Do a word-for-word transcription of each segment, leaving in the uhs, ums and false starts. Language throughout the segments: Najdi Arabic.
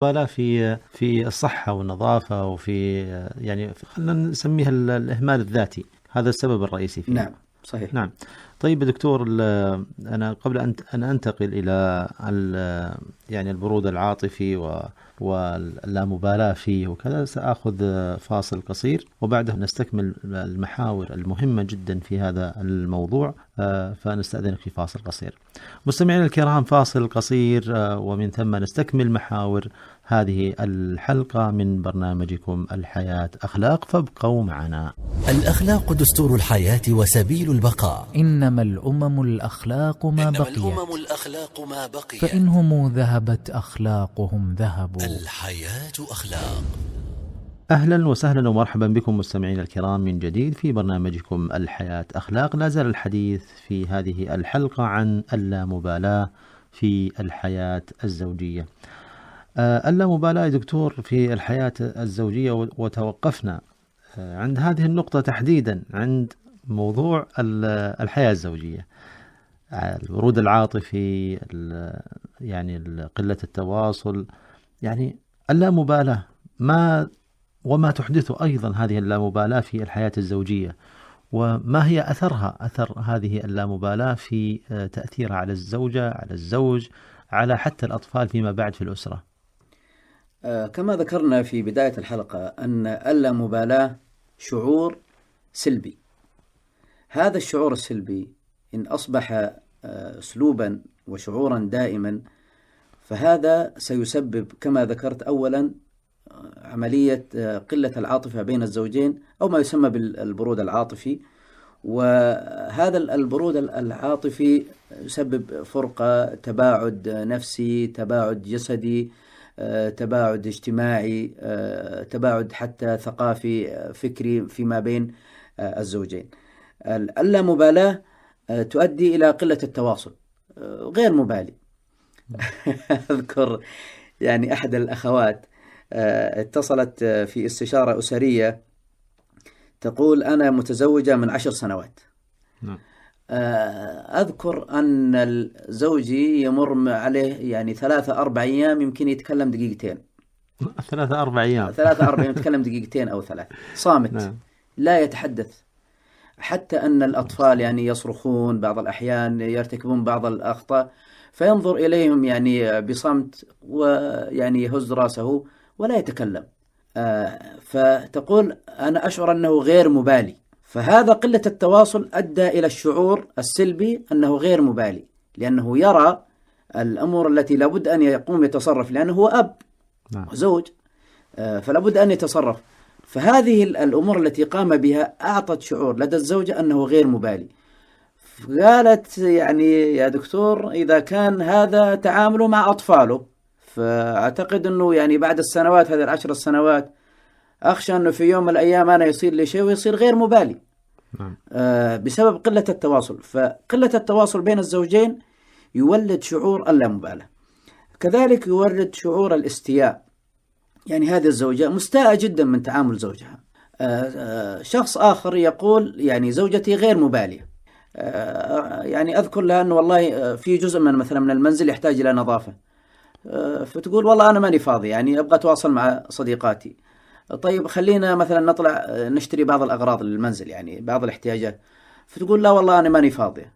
ولا في في الصحة والنظافة وفي يعني خلينا نسميها الإهمال الذاتي، هذا السبب الرئيسي فيه. نعم صحيح. نعم. طيب دكتور، أنا قبل أن أن أنتقل إلى يعني البرود العاطفي واللامبالاة فيه وكذا، سأخذ فاصل قصير وبعده نستكمل المحاور المهمة جدا في هذا الموضوع، فنستأذنك في فاصل قصير. مستمعينا الكرام، فاصل قصير ومن ثم نستكمل محاور هذه الحلقة من برنامجكم الحياة أخلاق، فابقوا معنا. الأخلاق دستور الحياة وسبيل البقاء. إنما الأمم الأخلاق ما إنما بقيت الأمم الأخلاق ما بقيت فإنهم ذهبت أخلاقهم ذهبوا. الحياة أخلاق. أهلا وسهلا ومرحبا بكم مستمعين الكرام من جديد في برنامجكم الحياة أخلاق. لا زال الحديث في هذه الحلقة عن اللامبالاة في الحياة الزوجية. اللامبالاة يا دكتور في الحياة الزوجية، وتوقفنا عند هذه النقطة تحديدا عند موضوع الحياة الزوجية، البرود العاطفي، يعني قلة التواصل، يعني اللامبالاة ما وما تحدثه أيضا هذه اللامبالاة في الحياة الزوجية، وما هي أثرها أثر هذه اللامبالاة في تأثيرها على الزوجة، على الزوج، على حتى الأطفال فيما بعد في الأسرة. آه كما ذكرنا في بداية الحلقة أن اللامبالاة شعور سلبي. هذا الشعور السلبي إن أصبح آه أسلوبا وشعورا دائما، فهذا سيسبب كما ذكرت أولا عملية قلة العاطفة بين الزوجين أو ما يسمى بالبرود العاطفي. وهذا البرود العاطفي يسبب فرقة، تباعد نفسي، تباعد جسدي، تباعد اجتماعي، تباعد حتى ثقافي فكري فيما بين الزوجين. اللامبالاة تؤدي إلى قلة التواصل، غير مبالي. أذكر يعني أحد الأخوات اتصلت في استشارة أسرية تقول أنا متزوجة من عشر سنوات. أذكر أن زوجي يمر عليه يعني ثلاثة أربع أيام يمكن يتكلم دقيقتين. ثلاثة أربع أيام ثلاثة أربع أيام يتكلم دقيقتين أو ثلاث، صامت. نعم. لا يتحدث، حتى أن الأطفال يعني يصرخون بعض الأحيان، يرتكبون بعض الأخطاء، فينظر إليهم يعني بصمت ويعني يهز رأسه ولا يتكلم. آه فتقول أنا أشعر أنه غير مبالي. فهذا قلة التواصل أدى إلى الشعور السلبي أنه غير مبالي، لأنه يرى الأمور التي لابد أن يقوم يتصرف، لأنه هو أب وزوج، آه فلابد أن يتصرف. فهذه الأمور التي قام بها أعطت شعور لدى الزوجة أنه غير مبالي. قالت يعني يا دكتور إذا كان هذا تعامله مع أطفاله، فأعتقد أنه يعني بعد السنوات هذه العشر السنوات أخشى أنه في يوم من الأيام أنا يصير لي شيء ويصير غير مبالي. نعم. آه بسبب قلة التواصل. فقلة التواصل بين الزوجين يولد شعور اللامبالاة. كذلك يولد شعور الاستياء، يعني هذه الزوجة مستاءة جدا من تعامل زوجها. آه آه شخص آخر يقول يعني زوجتي غير مبالية. آه يعني أذكر لها أنه والله في جزء من مثلا من المنزل يحتاج إلى نظافة، فتقول والله أنا ماني فاضي، يعني أبغى أتواصل مع صديقاتي. طيب خلينا مثلا نطلع نشتري بعض الأغراض للمنزل، يعني بعض الاحتياجات، فتقول لا والله أنا ماني فاضية.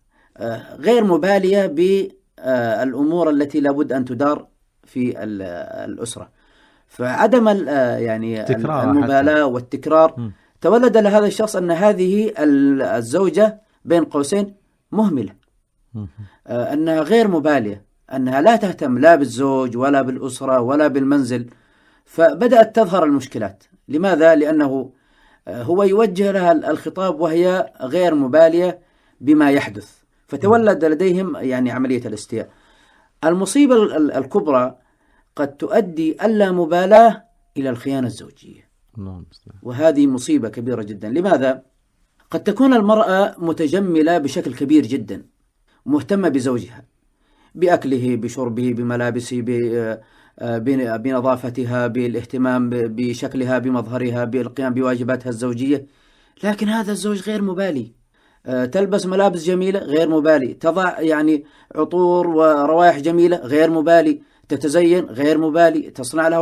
غير مبالية بالأمور التي لابد أن تدار في الأسرة. فعدم يعني المبالاة والتكرار م. تولد لهذا الشخص أن هذه الزوجة بين قوسين مهملة، م. أنها غير مبالية، أنها لا تهتم لا بالزوج ولا بالأسرة ولا بالمنزل. فبدأت تظهر المشكلات. لماذا؟ لأنه هو يوجه لها الخطاب وهي غير مبالية بما يحدث، فتولد لديهم يعني عملية الاستياء. المصيبة الكبرى قد تؤدي اللامبالاة إلى الخيانة الزوجية، وهذه مصيبة كبيرة جدا. لماذا؟ قد تكون المرأة متجملة بشكل كبير جدا، مهتمة بزوجها، بأكله، بشربه، بملابسه، بنظافتها، بالاهتمام بشكلها، بمظهرها، بالقيام بواجباتها الزوجية، لكن هذا الزوج غير مبالي. تلبس ملابس جميلة غير مبالي، تضع يعني عطور وروائح جميلة غير مبالي، تتزين غير مبالي، تصنع لها